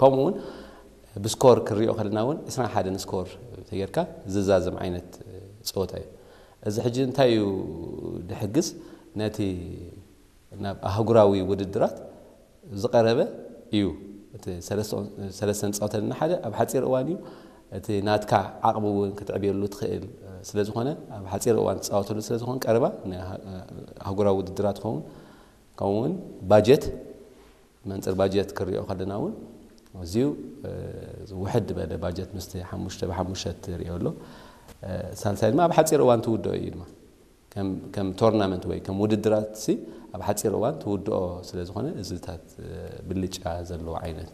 ከምኡ እውን ብስኮር ክንሪኦ ከለና እውን ዕስራን ሓደን ስኮር ተጌርካ ዝዛዘም ዓይነት ፀወታ እዩ። እዚ ሕጂ እንታይ እዩ ድሕግዝ? ነቲ ናብ ኣህጉራዊ ውድድራት ዝቐረበ እዩ። እቲ ሰለስተ- ሰለስተ ንፃወተልና ሓደ ኣብ ሓፂር እዋን እዩ። እቲ ናትካ ዓቕሚ እውን ክትዕብየሉ ትኽእል ስለ ዝኾነ፣ ኣብ ሓፂር እዋን ትፃወተሉ ስለ ዝኾን ቀረባ ንኣህጉራዊ ውድድራት ትኸውን። ከምኡ እውን ባጀት፣ መንፅር ባጀት ክሪኦ ከለና እውን ኣዝዩ ውሕድ ዝበለ ባጀት ምስቲ ሓሙሽተ ብሓሙሽተ ትሪኦ ኣሎ። ሳልሳይ ድማ ኣብ ሓፂር እዋን ትውድኦ እዩ ድማ ከም ቶርናመንት ወይ ከም ውድድራት ሲ ኣብ ሓፂር እዋን ትውድኦ ስለ ዝኾነ እዚታት ብልጫ ዘለዎ ዓይነት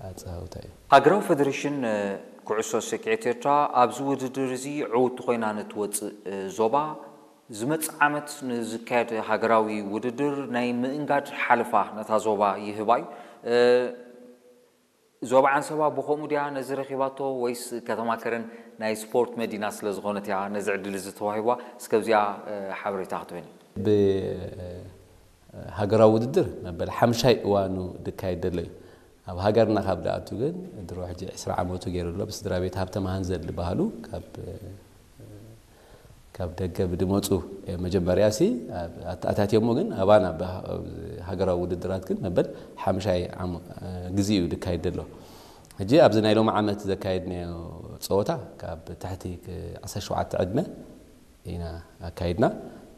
ኣፀዋውታ እዩ። ሃገራዊ ፌደሬሽን ኩዕሶ ሰኪዔት ኤርትራ ኣብዚ ውድድር እዚ ዕውቲ ኮይና ንትወፅእ ዞባ ዝመፅእ ዓመት ንዝካየድ ሃገራዊ ውድድር ናይ ምእንጋድ ሓለፋ ነታ ዞባ ይህባ እዩ። ዞባ ዓንሰባ ብኸምኡ ድያ ነዚ ረኺባቶ ወይስ ከተማ ከረን ናይ ስፖርት መዲና ስለ ዝኾነት እያ ነዚ ዕድል እዚ ተዋሂብዋ? እስከ ኣብዚኣ ሓበሬታ ክትበኒ። ብሃገራዊ ውድድር መበል ሓምሻይ እዋኑ ድካየድ ደሎ እዩ። ኣብ ሃገርና ካብ ድኣቱ ግን ድሮ ሕጂ ዕስራ ዓመቱ ገይሩ ኣሎ። ብስድራ ቤት ሃብተ መሃንዘል ዝበሃሉ ካብ ካብ ደገ ብድመፁ መጀመርያ ሲ ኣተኣታትዮሞ ግን ኣባና ሃገራዊ ውድድራት ግን መበል ሓምሻይ ግዜ እዩ ድካየድ ደሎ። ሕጂ ኣብዚ ናይ ሎሚ ዓመት ዘካየድናዮ ፀወታ ካብ ትሕቲ ዓሰርተ ሸውዓተ ዕድመ ኢና ኣካይድና።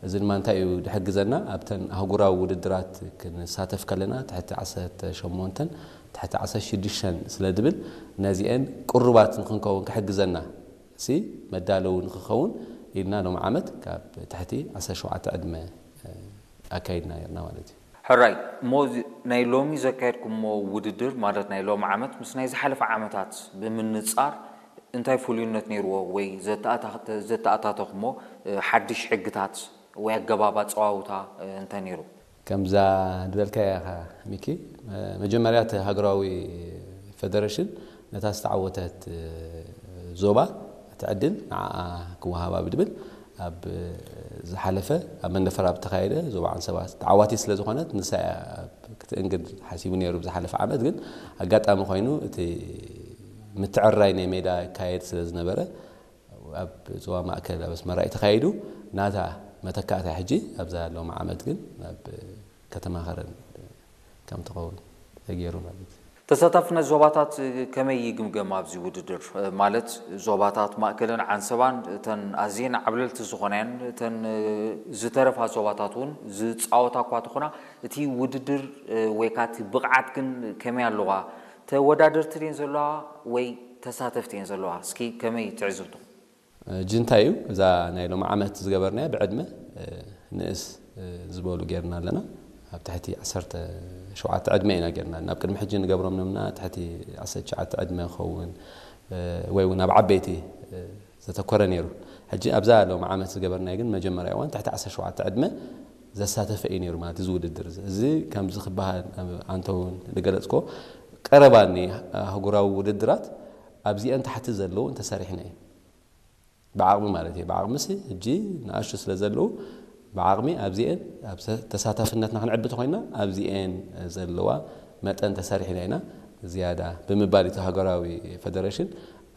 እዚ ድማ እንታይ እዩ ድሕግዘና? ኣብተን ኣህጉራዊ ውድድራት ክንሳተፍ ከለና ትሕቲ ዓሰርተ ሸሞንተን ትሕቲ ዓሰርተ ሽዱሽተን ስለ ድብል ነዚአን ቅሩባት ንክንከውን ክሕግዘና ሲ መዳለዊ ንክኸውን ኢልና ሎም ዓመት ካብ ትሕቲ ዓሰርተ ሸውዓተ ዕድመ ኣካይድና ነርና ማለት እዩ። ሕራይ እሞ ናይ ሎሚ ዘካየድኩሞ ውድድር ማለት ናይ ሎሚ ዓመት ምስ ናይ ዝሓለፈ ዓመታት ብምንፃር እንታይ ፍሉይነት ነይርዎ ወይ ዘተኣታተኹሞ ሓድሽ ሕግታት ወይ ኣገባብ ኣፀዋውታ እንታይ ነይሩ? ከምዛ ድበልካያ ኢኻ ሚኪ፣ መጀመርያ እቲ ሃገራዊ ፌደሬሽን ነታ ዝተዓወተት ዞባ እቲ ዕድል ንዓኣ ክወሃባ ብድብል ኣብ ዝሓለፈ ኣብ መንደፈራ ብተኻየደ ዞባ ዓንሰባ ተዓዋቲት ስለ ዝኾነት ንሳ ክትእንግድ ሓሲቡ ነይሩ ብዝሓለፈ ዓመት። ግን ኣጋጣሚ ኮይኑ እቲ ምትዕራይ ናይ ሜዳ ይካየድ ስለ ዝነበረ ኣብ ዞባ ማእከል ኣብ ኣስመራ እዩ ተኻይዱ። ናታ መተካእታ ሕጂ ኣብዛ ሎም ዓመት ግን ኣብ ከተማ ከረን ከም ትኸውን ተገይሩ ማለት እዩ። ተሳታፍነት ዞባታት ከመይ ይግምገም? ኣብዚ ውድድር ማለት ዞባታት ማእከልን ዓንሰባን እተን ኣዝየን ዓብለልቲ ዝኾናየን እተን ዝተረፋ ዞባታት እውን ዝፃወታ እኳ ተኾና እቲ ውድድር ወይ ከዓ እቲ ብቕዓት ግን ከመይ ኣለዋ? ተወዳደርቲ ድየን ዘለዋ ወይ ተሳተፍቲ እየን ዘለዋ? እስኪ ከመይ ትዕዝብትኹም? ጅንታ እዩ እዛ ናይ ሎም ዓመት ዝገበርናያ ብዕድመ ንእስ ዝበሉ ጌርና ኣለና። ኣብ ትሕቲ ዓሰርተ ሸውዓተ ዕድመ ኢና ጌርና ናብ ቅድሚ ሕጂ ንገብሮም ነምና ትሕቲ ዓሰርተ ትሽዓተ ዕድመ ክኸውን ወይ እውን ኣብ ዓበይቲ ዘተኮረ ነይሩ። ሕጂ ኣብዛ ሎም ዓመት ዝገበርናዮ ግን መጀመርያ እዋን ትሕቲ ዓሰርተ ሸውዓተ ዕድመ ዘሳተፈ እዩ ነይሩ ማለት እዚ ውድድር እዚ። እዚ ከምዚ ክበሃል ኣንተ እውን ዝገለፅኮ ቀረባ ኒ ኣህጉራዊ ውድድራት ኣብዚአን ታሕቲ ዘለዉ እንተሰሪሕና እዩ ብዓቕሚ ማለት እዩ። ብዓቕሚ ሲ ሕጂ ንኣሽቱ ስለ ዘለዉ ብዓቕሚ ኣብዚአን ተሳታፍነትና ክንዕቢ ተኮይና ኣብዚአን ዘለዋ መጠን ተሰሪሕና ኢና ዝያዳ ብምባል እቲ ሃገራዊ ፌደሬሽን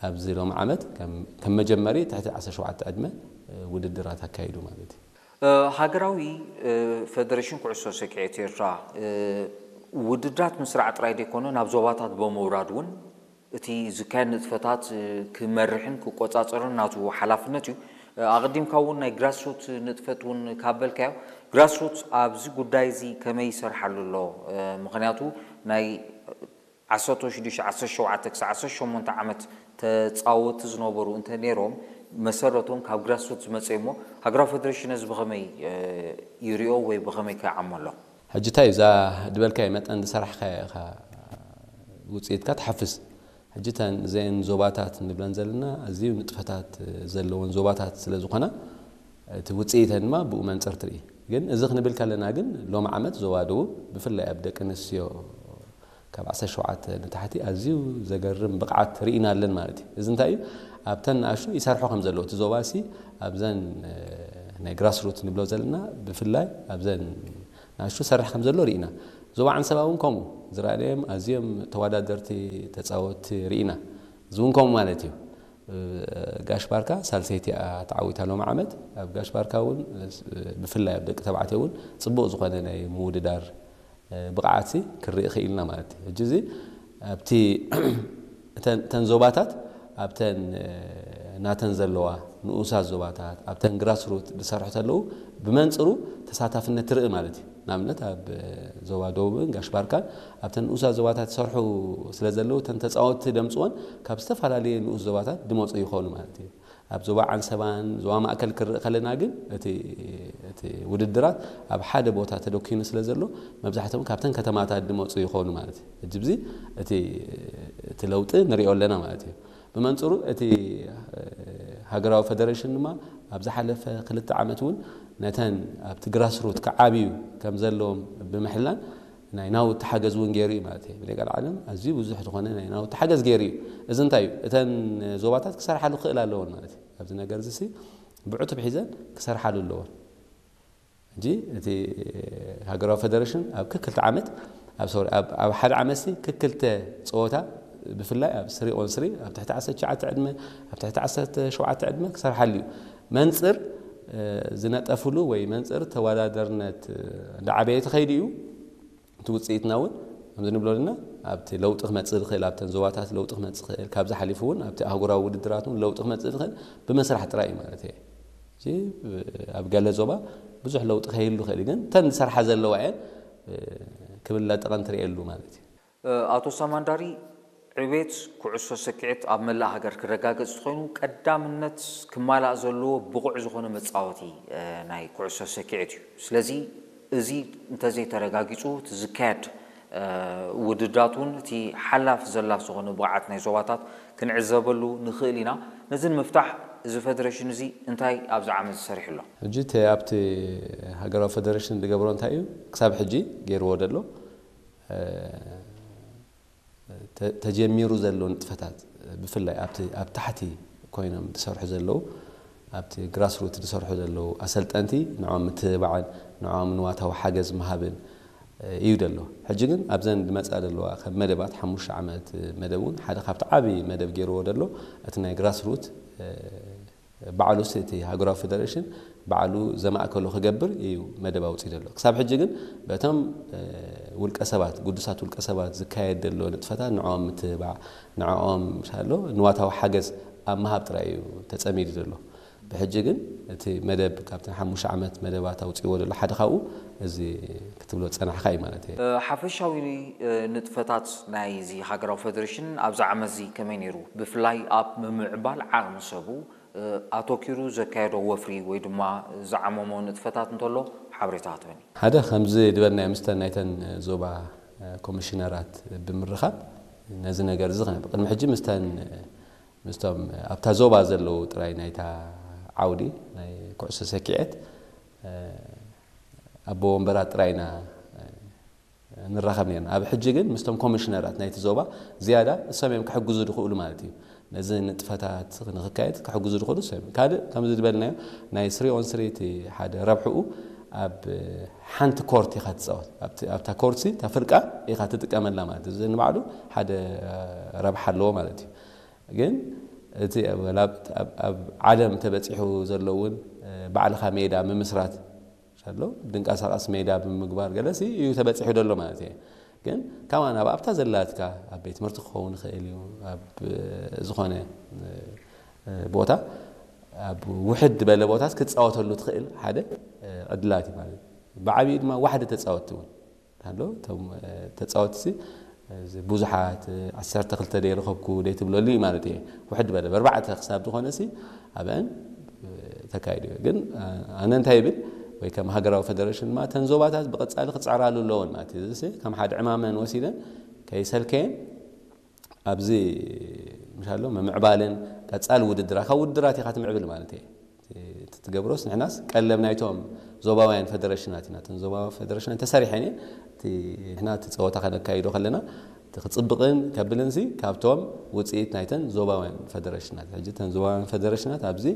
ኣብዚ ሎም ዓመት ከም መጀመሪ ትሕቲ ዓሰርተ ሸውዓተ ዕድመ ውድድራት ኣካይዱ ማለት እዩ። ሃገራዊ ፌደሬሽን ኩዕሶ ሰኪዔት ኤርትራ ውድድራት ምስራዕ ጥራይ ዘይኮነ ናብ ዞባታት ብምውራድ እውን እቲ ዝካየድ ንጥፈታት ክመርሕን ክቆፃፀርን ናቱ ሓላፍነት እዩ። ኣቐዲምካ እውን ናይ ግራስሩት ንጥፈት እውን ካብ በልካዮ ግራስሩት ኣብዚ ጉዳይ እዚ ከመይ ይሰርሓሉ ኣሎ? ምክንያቱ ናይ ዓሰርተ ሽዱሽተ ዓሰርተ ሸውዓተ ክሳብ ዓሰርተ ሸሞንተ ዓመት ተፃወቲ ዝነበሩ እንተ ነይሮም መሰረቶም ካብ ግራስሩት ዝመፀ እሞ ሃገራዊ ፌደሬሽን እዚ ብኸመይ ይሪኦ ወይ ብኸመይ ከዓሞ ኣሎ? ሕጂ እንታይ እዛ ድበልካዮ መጠን ዝሰራሕካዮ ኢኻ ውፅኢትካ ትሓፍስ። ሕጂ እተን እዘን ዞባታት ንብለን ዘለና ኣዝዩ ንጥፈታት ዘለወን ዞባታት ስለ ዝኾና እቲ ውፅኢተን ድማ ብኡ መንፅር ትርኢ። ግን እዚ ክንብል ከለና ግን ሎም ዓመት ዞባ ደቡብ ብፍላይ ኣብ ደቂ ኣንስትዮ ካብ ዓሰርተ ሸውዓተ ንታሕቲ ኣዝዩ ዘገርም ብቕዓት ርኢና ኣለን ማለት እዩ። እዚ እንታይ እዩ? ኣብተን ንኣሽቱ ይሰርሖ ከም ዘለዎ እቲ ዞባ ሲ ኣብዘን ናይ ግራስሩት ንብሎ ዘለና ብፍላይ ኣብዘን ንኣሽቱ ሰርሕ ከም ዘሎ ርኢና። ዞባ ዓንሰባ እውን ከምኡ ዝረኣናዮም ኣዝዮም ተወዳደርቲ ተጻወትቲ ርኢና። እዚ እውን ከምኡ ማለት እዩ። ጋሽ ባርካ ሳልሰይቲ እያ ተዓዊታ ሎም ዓመት። ኣብ ጋሽ ባርካ እውን ብፍላይ ኣብ ደቂ ተባዕትዮ እውን ጽቡቕ ዝኾነ ናይ ምውድዳር ብቕዓትሲ ክርኢ ክኢልና ማለት እዩ። ሕጂ እዚ ኣብቲ እተን ዞባታት ኣብተን ናተን ዘለዋ ንኡሳት ዞባታት ኣብተን ግራስሩት ዝሰርሑ ተለዉ ብመንፅሩ ተሳታፍነት ትርኢ ማለት እዩ። ንኣብነት ኣብ ዞባ ደቡብን ጋሽ ባርካን ኣብተን ንኡሳት ዞባታት ዝሰርሑ ስለ ዘለዉ እተን ተፃወትቲ ደምፅወን ካብ ዝተፈላለየ ንኡስ ዞባታት ድመፁ ይኾኑ ማለት እዩ። ኣብ ዞባ ዓንሰባን ዞባ ማእከል ክርኢ ከለና ግን እቲ እቲ ውድድራት ኣብ ሓደ ቦታ ተደኪኑ ስለ ዘሎ መብዛሕትኦም ካብተን ከተማታት ድመፁ ይኾኑ ማለት እዩ። ሕጂ ብዚ እቲ እቲ ለውጢ ንሪኦ ኣለና ማለት እዩ። ብመንፅሩ እቲ ሃገራዊ ፈደሬሽን ድማ ኣብ ዝሓለፈ ክልተ ዓመት እውን ነተን ኣብቲ ግራስሩት ክዓብዩ ከም ዘለዎም ብምሕላን ናይ ናውቲ ሓገዝ እውን ገይሩ እዩ ማለት እዩ። ብደቂ ዓለም ኣዝዩ ብዙሕ ዝኾነ ናይ ናውቲ ሓገዝ ገይሩ እዩ። እዚ እንታይ እዩ? እተን ዞባታት ክሰርሓሉ ክኽእል ኣለዎን ማለት እዩ። ኣብዚ ነገር እዚ ሲ ብዕቱብ ሒዘን ክሰርሓሉ ኣለዎን። ሕጂ እቲ ሃገራዊ ፈደሬሽን ኣብ ክክልተ ዓመት ኣብ ሶሪ ኣብ ሓደ ዓመት ሲ ክክልተ ፀወታ ብፍላይ ኣብ ስሪ ኦን ስሪ ኣብ ትሕቲ ዓሰርተ ትሽዓተ ዕድመ ኣብ ትሕቲ ዓሰርተ ሸውዓተ ዕድመ ክሰርሓሉ እዩ። መንፅር ዝነጠፍሉ ወይ መንፅር ተወዳደርነት እንዳዓበየ ተኸይዱ እዩ። እቲ ውፅኢትና እውን ከምዚ ንብሎ ዘለና ኣብቲ ለውጢ ክመፅእ ዝኽእል ኣብተን ዞባታት ለውጢ ክመፅእ ይኽእል ካብዚ ሓሊፉ እውን ኣብቲ ኣህጉራዊ ውድድራት እውን ለውጢ ክመፅእ ዝኽእል ብመስራሕ ጥራይ እዩ ማለት እየ። ኣብ ገለ ዞባ ብዙሕ ለውጢ ከይህሉ ይኽእል ግን እተን ዝሰርሓ ዘለዋ እየን ክብል ለጠቐን ትርእየሉ ማለት እዩ። ኣቶ ሳማንዳሪ ዕቤት ኩዕሶ ሰኪዐት ኣብ መላእ ሃገር ክረጋገጽ እንተኾይኑ ቀዳምነት ክማላእ ዘለዎ ብቑዕ ዝኾነ መጻወቲ ናይ ኩዕሶ ሰኪዐት እዩ። ስለዚ እዚ እንተዘይተረጋጊጹ እቲ ዝካየድ ውድድራት እውን እቲ ሓላፍ ዘላፍ ዝኾነ ብቕዓት ናይ ዞባታት ክንዕዘበሉ ንኽእል ኢና። ነዚ ንምፍታሕ እዚ ፈደሬሽን እዚ እንታይ ኣብዚ ዓመት ዝሰሪሑ ኣሎ? ሕጂ እቲ ኣብቲ ሃገራዊ ፈደሬሽን ዝገብሮ እንታይ እዩ ክሳብ ሕጂ ገይርዎ ዘሎ ተጀሚሩ ዘሎ ንጥፈታት ብፍላይ ኣብቲ ኣብ ታሕቲ ኮይኖም ዝሰርሑ ዘለዉ ኣብቲ ግራስሩት ዝሰርሑ ዘለዉ ኣሰልጠንቲ ንዖም ምትብባዕን ንዖም ንዋታዊ ሓገዝ ምሃብን እዩ ዘሎ። ሕጂ ግን ኣብዘን ዝመፃ ዘለዋ ከም መደባት ሓሙሽተ ዓመት መደብ እውን ሓደ ካብቲ ዓብዪ መደብ ገይርዎ ዘሎ እቲ ናይ ግራስሩት ባዕሉስ እቲ ሃገራዊ ፌደሬሽን ባዕሉ ዘማእከሎ ክገብር እዩ መደብ ኣውፂኡ ዘሎ። ክሳብ ሕጂ ግን በቶም ውልቀ ሰባት፣ ግዱሳት ውልቀ ሰባት ዝካየድ ዘሎ ንጥፈታት ንዕኦም ምትብባዕ፣ ንዕኦም ምሻሎ ንዋታዊ ሓገዝ ኣብ ምሃብ ጥራይ እዩ ተፀሚዱ ዘሎ። ብሕጂ ግን እቲ መደብ ካብተን ሓሙሽተ ዓመት መደባት ኣውፂእዎ ዘሎ ሓደ ካብኡ እዚ ክትብሎ ዝፀናሕካ እዩ ማለት እዩ። ሓፈሻዊ ንጥፈታት ናይ እዚ ሃገራዊ ፌደሬሽን ኣብዚ ዓመት እዚ ከመይ ነይሩ? ብፍላይ ኣብ ምምዕባል ዓቕሚ ሰቡ ኣተኪሩ ዘካየዶ ወፍሪ ወይ ድማ ዝዓመሞ ንጥፈታት እንተሎ ሓበሬታ ክትበኒ። ሓደ ከምዚ ዝበልናዮ ምስተን ናይተን ዞባ ኮሚሽነራት ብምርኻብ ነዚ ነገር እዚ ቅድሚ ሕጂ ምስተን ምስቶም ኣብታ ዞባ ዘለዉ ጥራይ ናይታ ዓውዲ ናይ ኩዕሶ ሰኪዐት ኣቦ ወንበራት ጥራይ ኢና ንራኸብ ነርና። ኣብ ሕጂ ግን ምስቶም ኮሚሽነራት ናይቲ ዞባ ዝያዳ እሶም እዮም ክሕግዙ ዝኽእሉ ማለት እዩ። ነዚ ንጥፈታት ንክካየድ ክሕግዙ ዝኽእሉ እሶም እዮም። ካልእ ከምዚ ዝበልናዮ ናይ ስሪ ኦን ስሪ እቲ ሓደ ረብሕኡ ኣብ ሓንቲ ኮርት ኢኻ ትፃወት። ኣብታ ኮርት እታ ፍርቃ ኢኻ ትጥቀመላ ማለት እዩ። እዚ ንባዕሉ ሓደ ረብሓ ኣለዎ ማለት እዩ። ግን እቲ ኣብ ዓለም ተበፂሑ ዘሎ እውን ባዕልኻ ሜዳ ምምስራት ኣሎ ድንቀሳቐስ ሜዳ ብምግባር ገለሲ እዩ ተበፂሑ ዘሎ ማለት እየ። ግን ካማን ኣብ ኣብታ ዘላትካ ኣብ ቤት ትምህርቲ ክኸውን ይኽእል እዩ ኣብ ዝኾነ ቦታ ኣብ ውሕድ ዝበለ ቦታት ክትፃወተሉ ትኽእል ሓደ ዕድላት እዩ ማለት እዩ። ብዓብዩ ድማ ዋሕዲ ተፃወትቲ እውን ኣሎ እቶም ተፃወትቲ ብዙሓት ዓሰርተ ክልተ ደይ ረኸብኩ ደይ ትብለሉ እዩ ማለት እየ። ውሕድ በለ በርባዕተ ክሳብ ዝኾነ ሲ ኣብአን ተካይዱ እዩ። ግን ኣነ እንታይ ይብል ወይ ከም ሃገራዊ ፌደሬሽን ድማ እተን ዞባታት ብቐፃሊ ክፅዕራሉ ኣለዎን ማለት እዩ። እዚ ከም ሓደ ዕማመን ወሲደን ከይሰልከየን ኣብዚ ምሻሎ ምምዕባልን ቀፃሊ ውድድራ ካብ ውድድራት ኢኻ ትምዕብል ማለት እየ። ትገብሮስ ንሕናስ ቀለብ ናይቶም ዞባውያን ፈደረሽናት ኢና። እተን ዞባዊ ፈደረሽናት ተሰሪሐን እየን። እቲ ንሕና እቲ ፀወታ ከነካይዶ ከለና እቲ ክፅብቕን ከብልን ሲ ካብቶም ውፅኢት ናይተን ዞባውያን ፈደረሽናት። ሕጂ እተን ዞባውያን ፈደረሽናት ኣብዚ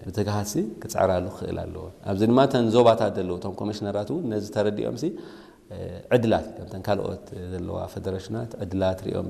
ብትግሃት ሲ ክፅዕራሉ ክኽእል ኣለዎ። ኣብዚ ድማ እተን ዞባታት ዘለዉ እቶም ኮሚሽነራት እውን ነዚ ተረዲኦም ሲ ዕድላት ከምተን ካልኦት ዘለዋ ፈደረሽናት ዕድላት ሪኦም